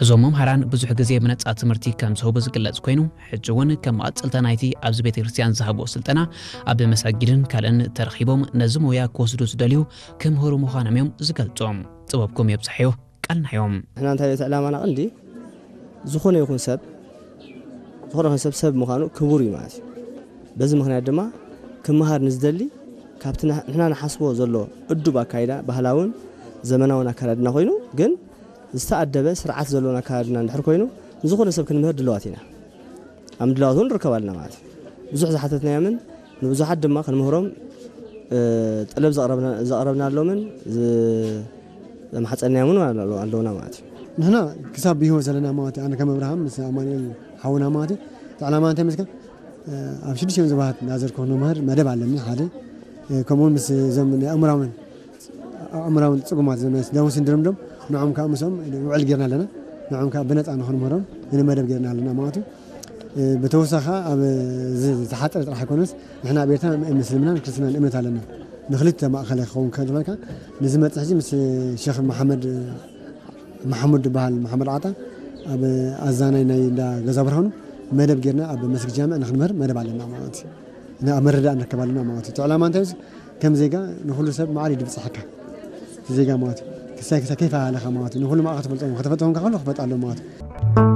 እዞም መምሃራን ብዙሕ ግዜ ብነጻ ትምህርቲ ከም ዝህቡ ዝግለጽ ኮይኑ፣ ሕጂ እውን ከም መቐጸልታ ናይቲ ኣብዚ ቤተ ክርስቲያን ዝሃብዎ ስልጠና ኣብ መሳጊድን ካልእን ተረኺቦም ነዚ ሞያ ክወስዱ ዝደልዩ ክምህሩ ምዃኖም እዮም ዝገልጹ። ጥበብኩም የብዝሓዮ፣ ቃልና እዮም። ንሕና እንታይ እዩ እቲ ዕላማና ቀንዲ? ዝኾነ ይኹን ሰብ፣ ዝኾነ ይኹን ሰብ ሰብ ምዃኑ ክቡር እዩ ማለት እዩ። በዚ ምኽንያት ድማ ክመሃር ንዝደሊ ካብቲ ንሕ-፣ ንሕና ንሓስቦ ዘሎ እዱብ ኣካይዳ፣ ባህላውን ዘመናውን ኣካዳድና ኮይኑ ግን ዝተኣደበ ስርዓት ዘለዎን ኣካዳድና እንድሕር ኮይኑ ንዝኾነ ሰብ ክንምህር ድልዋት ኢና። ኣብ ምድላዋት እውን ንርከብ ኣለና ማለት እዩ። ብዙሕ ዝሓተትናዮምን ንብዙሓት ድማ ክንምህሮም፣ እ፣ ጠለብ ዘቕረብና-፣ ዘቕረብናሎምን ዝ-፣ ዘማሕጸንናዮምን ኣሎ-፣ ኣለውና ማለት እዩ። ንሕና ክሳብ ብህይወት ዘለና ማለት እዩ። ኣነ ከም ኣብርሃም ምስ ኣማኑኤል ሓውና ማለት እዩ። እቲ ዕላማ እንታይ መስከ? እ፣ ኣብ ሽዱሽተ ዞባታት ናዘር ኮ ንምህር መደብ ኣለኒ ሓደ። እ፣ ከምኡውን ምስ እዞም ናይ ኣእምራውን ኣእምራውን ጽጉማት ዘመስ ዳውን ሲንድሮም ዶም ንዖም ከዓ ምስኦም ውዕል ጌርና ኣለና። ንዖም ከዓ ብነጻ ንኽንምህሮም ንመደብ ጌርና ኣለና ማለት እዩ። እ፣ ብተወሳኺ ኣብ ዝ-፣ ዝሓጸረ ጥራሕ ኣይኮነስ፣ ንሕና ኣብ ኤርትራ ምስልምናን ክርስትናን እምነት ኣለና። ንክልተ ማእኸላይ ክኸውን ከሎ፣ ንዝመጽእ ሕጂ ምስ ሼኽ መሓመድ፣ መሓሙድ ዝበሃል፣ መሓመድ ዓጣ፣ ኣብ ኣዛናይ ናይ እንዳ ገዛ ብርሃኑ መደብ ጌርና ኣብ መስጊድ ጃምዕ ንክንምህር መደብ ኣለና ማለት እዩ። እና ኣብ መረዳእ ንርከብ ኣለና ማለት እዩ። እቲ ዕላማ እንታይ እዩ? ከም ዜጋ ንኹሉ ሰብ ማዕሪ ድብጽሐካ። እቲ ዜጋ ማለት እዩ። ክሳይ ክሳይ ከይፈሃለኻ ማለት እዩ። ንኹሉ ማዕሪ ክትፈልጦም፣ ከተፈልጦም ከሎ ክፈልጥ ኣለዎ ማለት እዩ።